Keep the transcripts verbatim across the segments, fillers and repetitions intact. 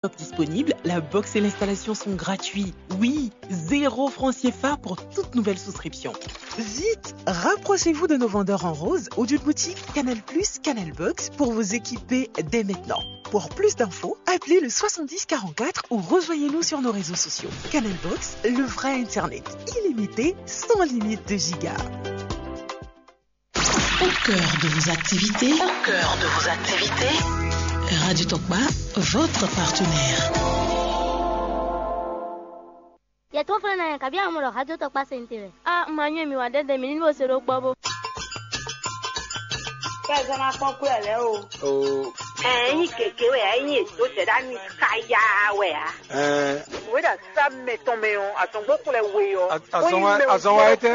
Top disponible, la box et l'installation sont gratuits. Oui, zéro franc C F A pour toute nouvelle souscription. Vite, rapprochez-vous de nos vendeurs en rose ou d'une boutique Canal Plus, Canal Box pour vous équiper dès maintenant. Pour plus d'infos, appelez le soixante-dix quarante-quatre ou rejoignez-nous sur nos réseaux sociaux. Canal Box, le vrai Internet, illimité, sans limite de giga. Au cœur de vos activités, au cœur de vos activités, Radio Tokpa, votre partenaire. Yɛ tó fɛn na yɛ kabi amɔ ɖɔ hajɔ tɔ kpa sɛn te wɛ. A ma nyɛ mi wa dɛdɛ mi ni bo se ɖo gbɔ bo. Kɛ zɔn na kpɔn kú ɛ lɛ o. O. Ɛ nyi keke wɛ ɛ nyi edo jɛ ɖa ni kaya wɛ a. Ɛ. Wɛ ɖa sa mɛ tɔn mɛ ɔ azɔngbɔ kplɛ we ɔ. Azɔnwa etɛ.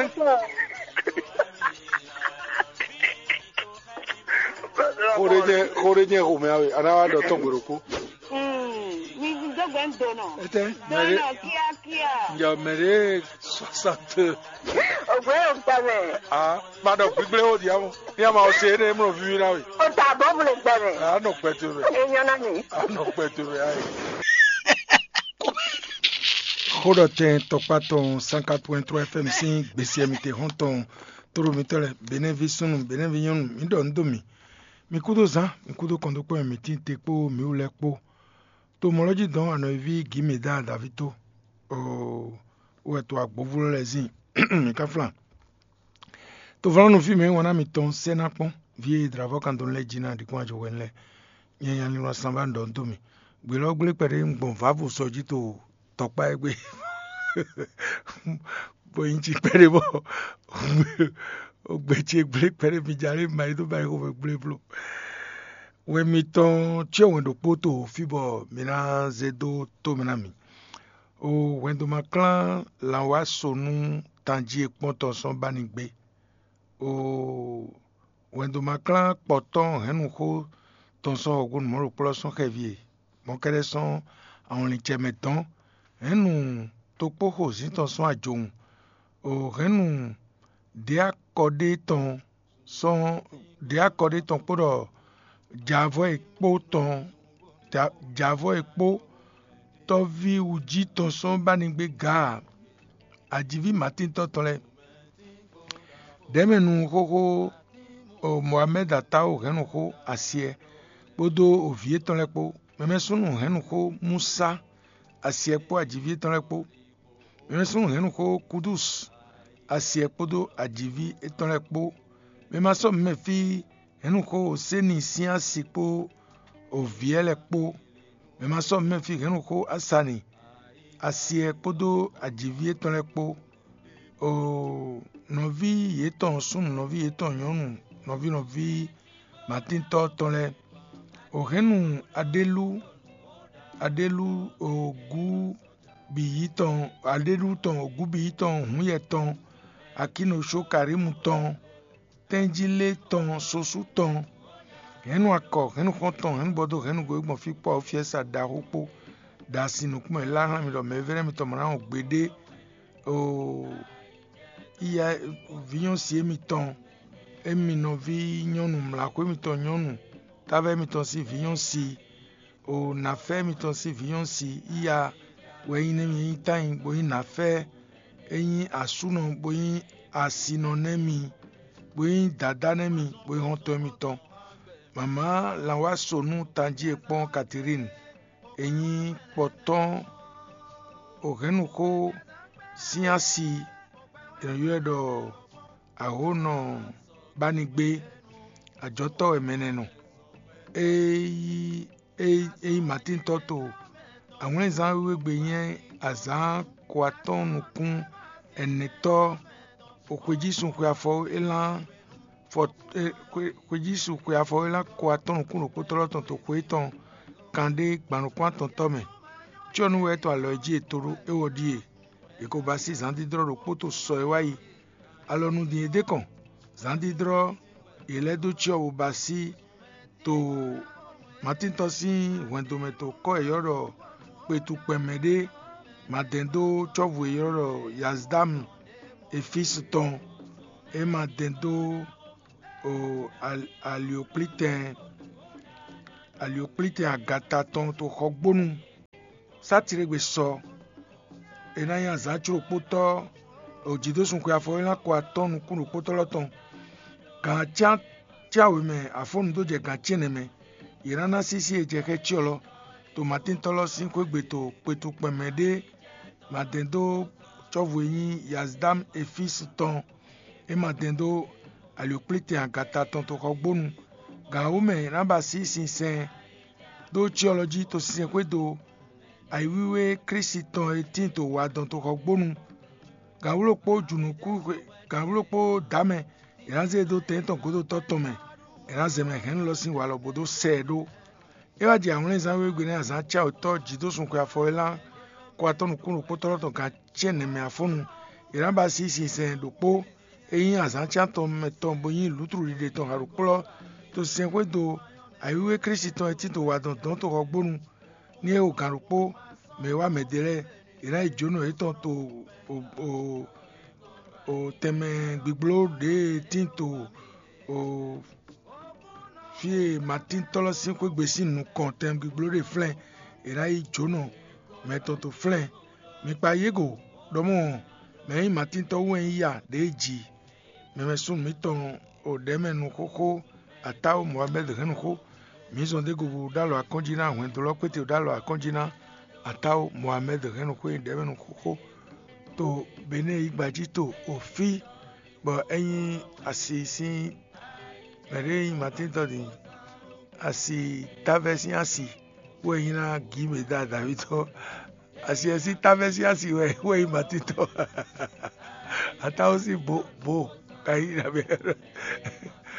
Xo ɖé jɛ xo ɖé jɛ xomɛ awe ana wa ɖɔ tɔn gbe ɖokpo. Mi dó gbe ń donɔ. Etɛ mɛ ɖé. Donɔ kíákíá. Njɛ mɛ ɖé soixante. Ògbé yóò gbà mẹ́. Ah, ma ɖɔ gbígbé ó di amɔ. Ní a ma ṣe é ní mlɔ víví ná we. O ta bɔ mu le gbà mẹ́. A nɔ gbɛ to mɛ. E nyɔ na mi. A nɔ gbɛ to mɛ ayi. Xó ɖɔ tɛn tɔkpá tɔn cent quatre point trois F M sín gbèsè mi te hɔn tɔn. Tóɖo mitɔ́ lɛ́ɛ, Benɛ́ví súnnu, Benɛ́ví nyɔ́nu, mi ɖɔ nǔ dó mì. Mi kúdó zán, mi kúdó kɔn dó kpɔ́n mì tíin te kpó mǐ wú lɛ́ɛ kpó. To mɔ̌ lɔ́ jí dɔn anɔ̌ e ví Gǐmedá Daví tó, oo, wɛ to agbǒvú lɛ́ɛ zin mǐ ká flan. To vlɔ́nu fí mɛ e wan ná mitɔn sɛ́ ná kpɔ́n, vǐ e dlǎvɔ́ kan dó lɛ́ɛ jí ná ɖi kpɔ́n ajɔ hwɛ̌nu lɛ́ɛ. Nyɛ nya linlɔn sanbá un ɖɔ nú dó mì. Gbělɔ́ gblé kpɛɖé un gbɔn vǎvu sɔ jí to tɔkpá e gbe. Bɔ nyi jí kpɛɖé bɔ ó gbe ce gblé kpɛɖé mi ja lé ma yi dó ba yi xomɛ gblé bló. Wɛn mitɔn cyɔ wɛn ɖokpó to fí bɔ mi ná zé dó tó mɛ ná mi. O hwɛndo ma klán lanwá so nú tanjí e kpɔ́n tɔn sɔ́ ba ní gbé. O hwɛndo ma klán kpɔtɔ́ hɛ̌nnuxó tɔn sɔ́ hɔ̌gbónu mɔ̌ ɖo kplɔ́ sɔ́ xɛví e, mɔ̌ kɛ́ɖɛ́ sɔ́ awɔnlin ce mɛ dɔn. Hɛ̌nnu tokpóxo zǐn tɔn sɔ́ ajowun. O hɛ̌nnu ɖě akɔɖé tɔn sɔ́ ɖě akɔɖé tɔn kpó ɖɔ javɔ́ e kpó tɔn javɔ́ e kpó tɔ́ví wǔjí tɔn sɔ́ ba ní gbé gǎ ajiví Matíntɔ́ tɔn lɛ́ɛ. Ɖɛ̌mɛnu xóxó Moamɛ́d Atáwo hɛ̌nnu xó Asyɛ kpódó vǐ yětɔn lɛ́ɛ kpó. Mɛmɛ́súnnu hɛ̌nnu xó Músá Asyɛ kpó ajiví yětɔn lɛ́ɛ kpó. Mɛmɛ́súnnu hɛ̌nnu xó Kúdús Asyɛ kpódó ajiví yětɔn lɛ́ɛ kpó. Mɛ ma sɔ́ mǐmɛ́ fí hɛ̌nnu xó Séni sín asi kpó vǐ lɛ́ɛ kpó. Mɛ ma sɔ́ mǐmɛ́ fí hɛ̌nnu xó Asani Asyɛ kpódó ajiví yětɔn lɛ́ɛ kpó. Oo, nɔví yětɔn súnnu, nɔví yětɔn nyɔ̌nu, nɔví nɔví Matíntɔ́ tɔn lɛ́ɛ. O hɛ̌nnu Aɖélú, Aɖélú ogú bǐ yi tɔn, Aɖélú tɔn ogú bǐ yi tɔn hǔnyɛ tɔn, Akínosókarímu tɔn, tɛ́njílé tɔn, sosú tɔn, hɛ̌nnu akɔ, hɛ̌nnu xɔ́ntɔn, hɛ̌nnu bɔdó, hɛ̌nnu go e gbɔn fí kpó awɔfyɛ́sa ɖaxó kpó, ɖo asi nukúnmɛ lá hlán mi ɖɔ mɛvɛ́nɛ́ mitɔn ma ná wɔn gbeɖé. Oo, iya vǐnyɔ́si émitɔn, émi nɔví nyɔ́nu mlǎxwé mitɔn nyɔ́nu, táva émitɔn sín vǐnyɔ́si, o nǎfɛ́ mitɔn sín vǐnyɔ́si iya wɛ nyí nɛ́ mi, é nyí tányi bó nyí nǎfɛ́, é nyí asúnɔ bó nyí asinɔ nɛ́ mi, bó nyí dadá nɛ́ mi, bó nyí xɔ́ntɔn mitɔn. Mama lanwáso nú tanjí e kpɔ́n Katilín, e nyí kpɔtɔ́n ohɛ̌nnuxó sín asi, è nɔ ylɔ́ ɛ ɖɔ Ahónɔ Bánigbé, ajɔ̌tɔ́ wɛ mɛ nɛ́ nɔ. É nyí é nyí Matíntɔ́ to awlɛ́nzán wíwé gbe nyɛ azǎn ko atɔ́ɔ́n nukún ɛnɛtɔ́ xwejísun xwe afɔ élán fɔ xwejísun xwe afɔ élán ko atɔ́ɔ́n nukún ɖokpótɔ́ lɔ́ tɔn to xwe tɔn kanɖé gban nukún atɔntɔ́ mɛ. Cyɔ́nú wɛ é tɔn alɔ jí e to ɖó é wɔ ɖíe. È ko ba sí zǎndídrɔ́ ɖokpó to sɔ e wá yi. Alɔ nu din e dé kɔn, zǎndídrɔ́ yě lɛ́ dó cyɔ bó ba sí to Matíntɔ́ sín hwɛndo mɛ to kɔ́ e ylɔ́ ɖɔ kpetukpɛn mɛ ɖé ma dɛn dó cɔ́vu e ylɔ́ ɖɔ Yazdámu Efísu tɔn, é ma dɛn dó o al- aliokplítɛn aliokplítɛn agata tɔn to xɔgbónu Sátire gbe sɔ, è nǎ nyi azǎn có ɖokpótɔ́, jǐdósun xwe afɔwélán ko atɔ́ɔ́n nukún ɖokpótɔ́ lɔ tɔn. Gǎn cyácyá wěmɛ afɔ́nnu dó jɛ gǎn cɛ́nɛ mɛ. Yě ná ná sísí e jɛ xɛ́ cyɔ lɔ, to Matíntɔ́ lɔ sín xwé gbe to kpetukpɛn mɛ ɖé ma dɛn dó cɔ́vu e nyí Yazdám Efísu tɔn é ma dɛn dó alǐwkplítɛn agata tɔn toxɔgbónu. Gǎn wǒ mɛ è nǎ ba sí sinsɛn dó cyɔ lɔ jí to sinsɛnxwédo ayǐwíwé Klísu tɔn e tíin to wadɔn toxɔgbónu. Gǎnwló kpó jǔnukú gǎnwló kpó dǎmɛ è nǎ zé e dó tɛn tɔn gǒdotɔ́ tɔn mɛ, è nǎ zɛ mɛ hɛ̌nnu lɔ sín walɔ bó dó sɛ ɛ ɖó. É wá jɛ awlɛnzán wěwé gbe nɛ́ azǎn cáwětɔ́ jǐdósun xwe afɔwélán kó atɔ́ nukún ɖokpótɔ́ tɔn gǎn cɛ́nɛ mɛ afɔ́nnu. È nǎ ba sí sinsɛn ɖokpó e nyí azǎn cán tɔn mɛ tɔn bó nyí lǔtluɖiɖe tɔn haɖokplɔ́ to sinsɛnxwédo ayǐwíwé Klísu tɔn e títo wa dɔn dɔ̌n toxɔgbónu ní é o gǎn ɖokpó mɛ e wá mɛ ɖé lɛ́ɛ. È nǎ yi jǒnɔ yětɔn to o tɛnmɛ gbígbló ɖě e tín to o fí e Matíntɔ́ lɔ sín xwé gbe sín nukɔn tɛnmɛ gbígbló ɖe flɛ́n. È nǎ yi jǒnɔ mɛ tɔn to flɛ́n. Mi kpa yěgo ɖɔ mɔ̌, mɛ e nyí Matíntɔ́ wú wɛ nyí ya ɖě e ji mɛmɛ súnnu mǐtɔn o ɖɛ̌ mɛ nu xóxó, Atáwo Mohamɛ́d hɛn nu xó. Mǐ zɔn dó go bo ɖó alɔ akɔ́njí ná hwɛndo lɔ kpéte ɖó alɔ akɔ́njí ná Atáwo Mohamɛ́d hɛn nu xó e ɖɛ̌ mɛ nu xóxó to Benɛ́ɛ yígba jí to o fí, bɔ é nyí asi sín mɛ ɖé e nyí Matíntɔ́ din, asi táfɛ́ sín asi, wɛ nyí ná gǐ mɛ da Davídɔ́. Asi ɛ sín táfɛ́ sín asi wɛ wɛ nyí Matíntɔ́. Atáwo sín bo bo ka nyí nabɛ.